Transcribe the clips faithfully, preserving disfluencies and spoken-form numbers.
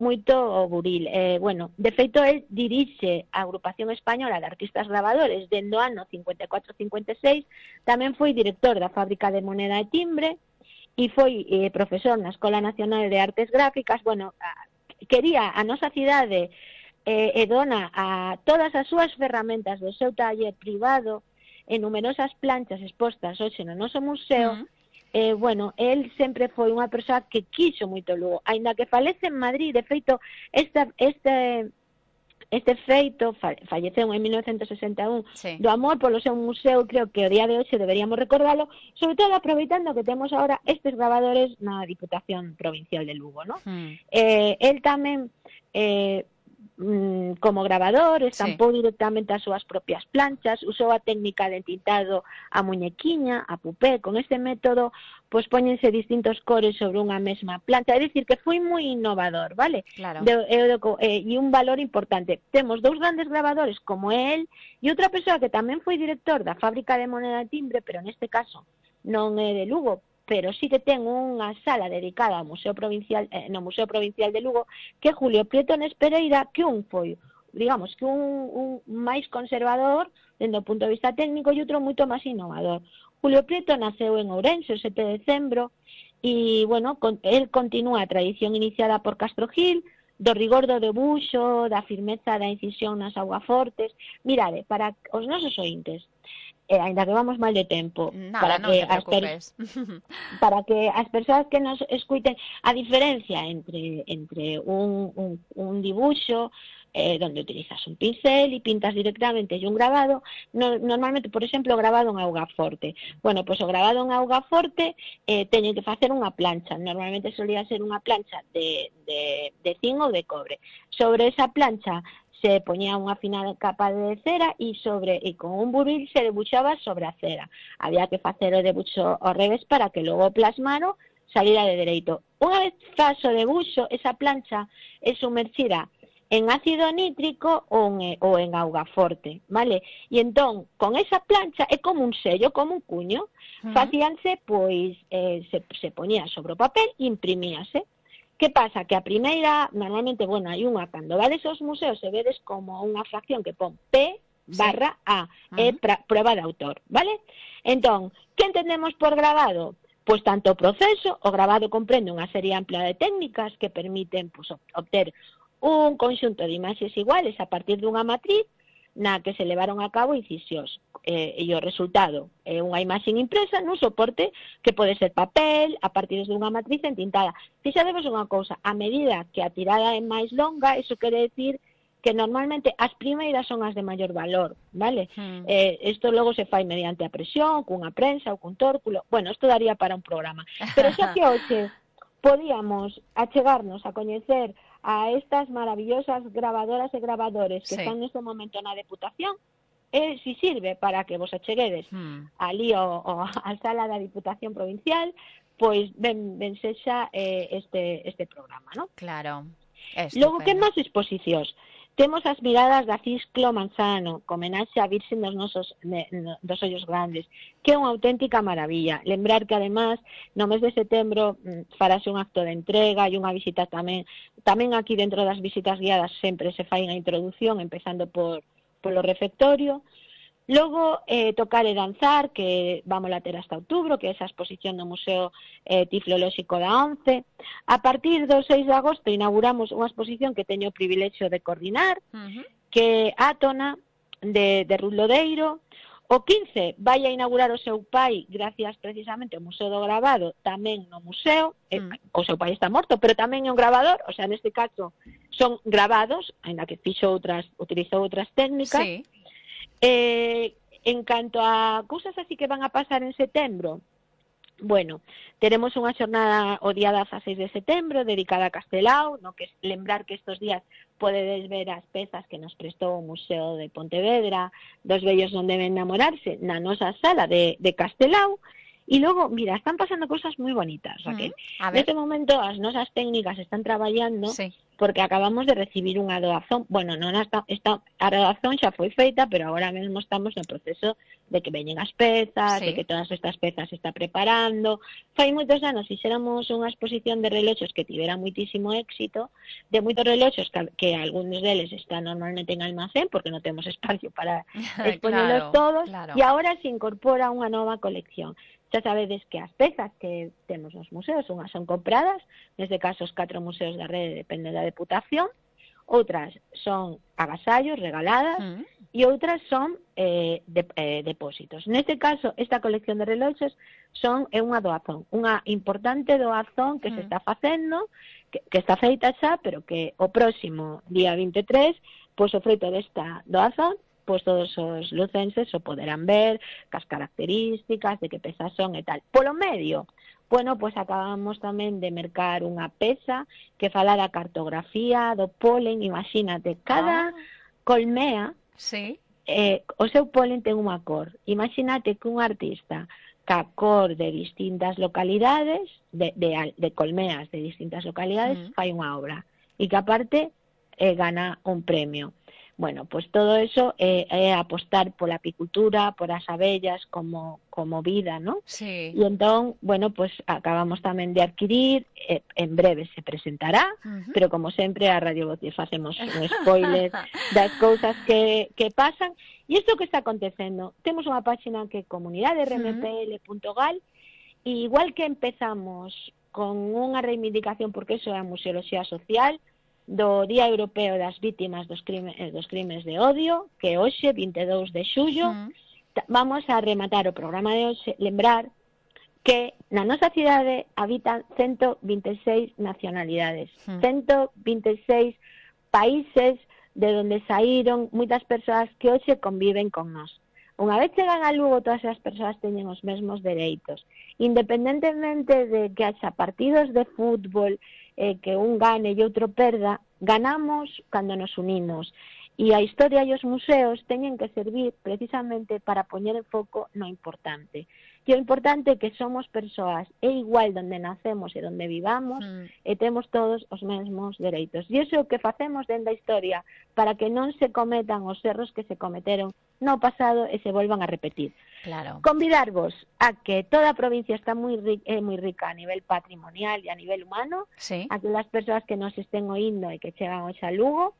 moito o buril. Eh, bueno, de feito, el dirixe a Agrupación Española de Artistas Grabadores dende o ano cincuenta e catro cincuenta e seis, tamén foi director da Fábrica de Moneda e Timbre e foi eh, profesor na Escola Nacional de Artes Gráficas. Bueno, quería a nosa cidade eh, e dona a todas as súas ferramentas do seu taller privado e numerosas planchas expostas hoxe no noso museo. Mm. Eh, bueno, el sempre foi unha persoa que quixo moito Lugo, aínda que falece en Madrid. De feito, esta, este, este feito falleceu en mil novecentos sesenta e un, sí, do amor polo seu museo. Creo que o día de hoxe deberíamos recordarlo, sobre todo aproveitando que temos agora estes grabadores na Diputación Provincial de Lugo, ¿no? Mm. Eh, el tamén... Eh, como grabador, estampou sí. directamente as súas propias planchas, usou a técnica de tintado a muñequiña, a pupé. Con este método, pois póñense distintos cores sobre unha mesma plancha. É dicir, que foi moi innovador, vale? Claro. De, de, de, eh, e un valor importante. Temos dous grandes grabadores como él e outra persoa que tamén foi director da Fábrica de Moneda e Timbre, pero neste caso non é de Lugo, pero sí que ten unha sala dedicada ao Museo Provincial, eh, no Museo Provincial de Lugo, que é Julio Prieto Nes Pereira, que un foi, digamos, que un, un máis conservador dende o punto de vista técnico e outro moito máis innovador. Julio Prieto naceu en Ourense o sete de decembro e, bueno, con, el continúa a tradición iniciada por Castro Gil, do rigor do debuxo, da firmeza da incisión nas augafortes. Mirade, para os nosos ointes, Eh, ainda que vamos mal de tempo, Nada, para non que te preocupes. As para que as persoas que nos escuiten, a diferencia entre entre un, un, un dibuixo eh, donde utilizas un pincel e pintas directamente e un grabado, no, normalmente, por exemplo, o grabado en augaforte. Bueno, pois pues, o grabado en augaforte eh, teñen que facer unha plancha. Normalmente solía ser unha plancha de, de, de zinc ou de cobre. Sobre esa plancha se poñía unha fina capa de cera e sobre e con un buril se debuxaba sobre a cera. Había que facer o debuxo ao revés para que logo o plasmaro salira de dereito. Unha vez faz o debuxo, esa plancha é sumerxida en ácido nítrico ou en, ou en auga forte, vale? E entón, con esa plancha é como un sello, como un cuño. Uh-huh. Facíanse, pois, eh, se, se ponía sobre o papel e imprimíase. Que pasa? Que a primeira, normalmente, bueno, hai unha, cando vades aos museos e vedes como unha fracción que pon P barra A, sí. é pra, prueba de autor, vale? Entón, que entendemos por grabado? Pois tanto o proceso, o grabado comprende unha serie amplia de técnicas que permiten pois, obter un conxunto de imaxes iguales a partir dunha matriz na que se levaron a cabo incisións. Eh, e o resultado é unha imaxe impresa nun soporte que pode ser papel, a partir dunha matriz entintada. Fixadevos unha cousa, a medida que a tirada é máis longa, iso quere decir que normalmente as primeiras son as de maior valor, vale? Hmm. Eh, isto logo se fai mediante a presión, cunha prensa ou cun tórculo. Bueno, isto daría para un programa. Pero xa que hoxe podíamos achegarnos a coñecer a estas maravillosas grabadoras e grabadores que sí. están neste momento na Deputación, e si sirve para que vos acheguedes hmm. ali o, o, a sala da Diputación Provincial, pois ben, ben sexa eh, este, este programa, ¿no? Claro. Logo, que máis exposicións? Temos as miradas da Cisclo Manzano, co homenaxe á Virxen dos nosos ne, no, dos ollos grandes, que é unha auténtica maravilla. Lembrar que, además, no mes de setembro farase un acto de entrega e unha visita tamén. Tamén aquí dentro das visitas guiadas sempre se fai unha introducción, empezando por polo refectorio. Logo, eh, tocar e danzar, que vamos a ter hasta outubro, que é esa exposición no Museo eh, Tiflolóxico da ONCE. A partir do seis de agosto inauguramos unha exposición que teño o privilexio de coordinar, uh-huh. que é Átona, de, de Ruth Lodeiro. O quince vai a inaugurar o seu pai, gracias precisamente ao Museo do Grabado, tamén no museo. Uh-huh. eh, o seu pai está morto, pero tamén é un grabador, o sea, neste caso son grabados, ainda que fixo outras, utilizou outras técnicas. Sí. Eh, en canto a cousas así que van a pasar en setembro, bueno, teremos unha xornada o día dezaseis de setembro dedicada a Castelao, no que lembrar que estes días podedes ver as pezas que nos prestou o Museo de Pontevedra, dos vellos non deben namorarse, na nosa sala de, de Castelao. E logo, mira, están pasando cosas moi bonitas, Raquel. Mm, Neste momento as nosas técnicas están traballando sí. porque acabamos de recibir unha doazón. Bueno, non está, está, a doazón xa foi feita, pero agora mesmo estamos no proceso de que veñen as pezas, sí. de que todas estas pezas se está preparando. Fai moitos anos fixéramos unha exposición de reloxos que tivera moitísimo éxito, de moitos reloxos que, que algúns deles están normalmente en almacén, porque non temos espacio para exponerlos claro, todos, claro. e agora se incorpora unha nova colección. Xa sabedes que as pezas que temos nos museos, unhas son compradas, neste caso os catro museos da rede dependen da Deputación, outras son agasallos regaladas mm. e outras son eh, de, eh, depósitos. Neste caso, esta colección de reloxos son é unha doazón, unha importante doazón que mm. se está facendo, que, que está feita xa, pero que o próximo día vinte e tres, pois o froito desta doazón, pois todos os lucenses o poderán ver, cas características, de que pezas son e tal. Polo medio, bueno, pois acabamos tamén de mercar unha peza que fala da cartografía, do polen, imagínate, cada ah. colmea, sí. eh, o seu polen ten unha cor. Imagínate que un artista ca cor de distintas localidades, de, de, de colmeas de distintas localidades, mm. fai unha obra. E que aparte eh, gana un premio. Bueno, pues todo eso é eh, eh, apostar pola apicultura, por as abellas como como vida, ¿no? Sí. E entón, bueno, pues acabamos tamén de adquirir, eh, en breve se presentará, uh-huh. pero como sempre a Radio Voz facemos un spoiler das cousas que, que pasan. E isto que está acontecendo, temos unha página que é comunidade r m p l punto gal, e igual que empezamos con unha reivindicación, porque iso é a museoloxía social, do Día Europeo das Vítimas dos Crimes, dos crimes de Odio, que hoxe, vinte e dous de xullo, mm. vamos a rematar o programa de hoxe, lembrar que na nosa cidade habitan ciento vinte e seis nacionalidades, mm. ciento vinte e seis países de onde saíron moitas persoas que hoxe conviven con nós. Unha vez chegan a Lugo, todas as persoas teñen os mesmos dereitos, independentemente de que haxa partidos de fútbol, eh, que un gane e outro perda, ganamos cando nos unimos. E a historia e os museos teñen que servir precisamente para poñer en foco no importante. E o importante é que somos persoas, é igual donde nacemos e donde vivamos, mm. e temos todos os mesmos dereitos. E iso é o que facemos dentro da historia, para que non se cometan os erros que se cometeron no pasado e se volvan a repetir. Claro. Convidarvos a que toda a provincia está moi rica, é moi rica a nivel patrimonial e a nivel humano, sí. a que as persoas que nos estén oindo e que chegan hoxe a Lugo,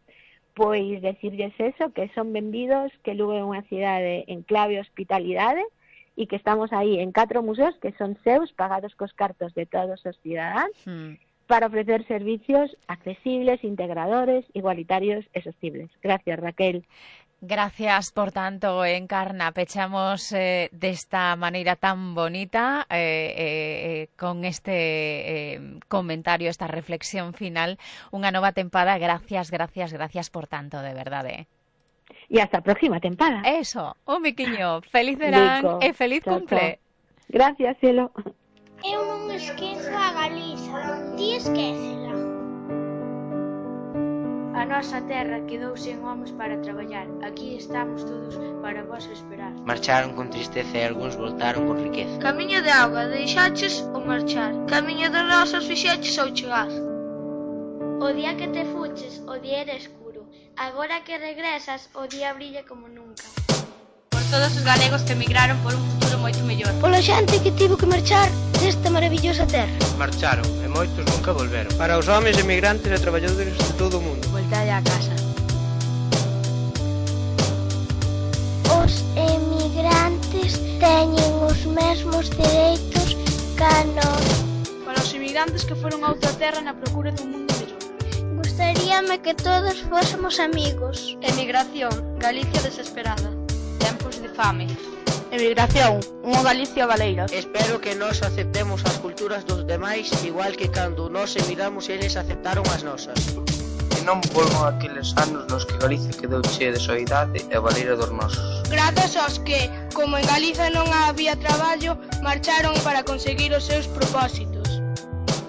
pois decirles eso, que son benvidos, que Lugo é unha cidade en clave hospitalidade, e que estamos aí en catro museos que son seus, pagados cos cartos de todos os cidadáns, hmm. para ofrecer servicios accesibles, integradores, igualitarios e sostibles. Gracias, Raquel. Gracias por tanto, Encarna. Pechamos eh, desta maneira tan bonita eh, eh, con este eh, comentario, esta reflexión final, unha nova tempada. Gracias, gracias, gracias por tanto, de verdade. E hasta a próxima tempada. Eso, un biquiño. Feliz verán e feliz chao, cumple. Chao. Gracias, cielo. Eu non esquezo a Galiza. Ti esquécela. A nosa terra quedou sen homes para traballar. Aquí estamos todos para vos esperar. Marcharon con tristeza e algúns voltaron con riqueza. Camiño de auga deixaches o marchar. Camiño de rosas fixeches ao chegar. O día que te fuches, o día era escuro. Agora que regresas, o día brilla como nunca. Por todos os galegos que emigraron por un futuro moito mellor. Pola xente que tivo que marchar desta maravillosa terra. Marcharon e moitos nunca volveron. Para os homes emigrantes e traballadores de todo o mundo. Voltalle a casa. Os emigrantes teñen os mesmos dereitos ca nós. Para os emigrantes que foron a outra terra na procura dun mundo mellor. Gustaríame que todos fósemos amigos. Emigración, Galicia desesperada. Tempos de fame. Emigración, unha Galicia baleira. Espero que nós aceptemos as culturas dos demais, igual que cando nós emigramos eles aceptaron as nosas. E non volvan aqueles anos nos que Galicia quedou chea de soidade e baleira dos nosos. Grazas aos que, como en Galiza non había traballo, marcharon para conseguir os seus propósitos.